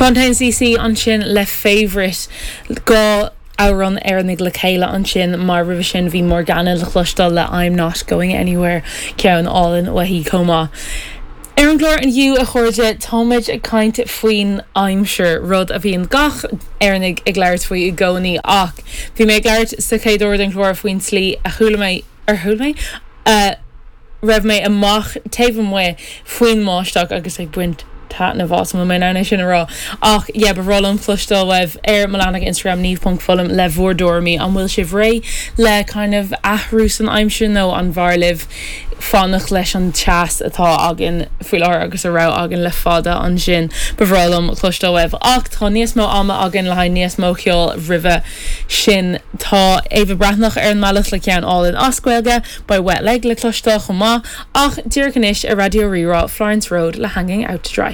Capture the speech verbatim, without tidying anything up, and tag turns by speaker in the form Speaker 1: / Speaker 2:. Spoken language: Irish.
Speaker 1: Fontaines DC ansin le Favourite dhá amhrán Éireannach le chéile ansin mar roimhe sin bhí Morgana le cloisteáil le I'm not going anywhere ceann álainn uaithi chomh maith. Ar an gclár inniu a chairde táimid ag caint faoin aimsir rud a bhíonn gach Éireannach ag labhairt faoi i gcónaí ach bhí mé ag labhairt sa chéad uair den chlár faoin tslí a chuala mé ar chuala mé uh, raibh mé amach taobh amuigh faoin mbáisteach agus ag baint taitneamh as mé ná sin a rá ach yeah, ba bhreá liom cloisteáil uaibh ar mo leathanach Instagram niamh.fullam le bhur dtuairimí an bhfuil sibh réidh le kind of athrú san aimsir nó an bhfearr libh fanacht leis an teas atá againn faoi láthair agus a raibh againn le fada ansin ba bhreá liom cloisteáil uaibh ach tá níos mó ama againn le haghaidh níos mó ceoil roimhe sin tá Éabha Breathnach ar an mbealach le ceann álainn as Gaeilge beidh Wet Leg le cloisteáil chomh maith ach díreach anois ar Raidió Rí-Rá Florence Road le hanging out to dry.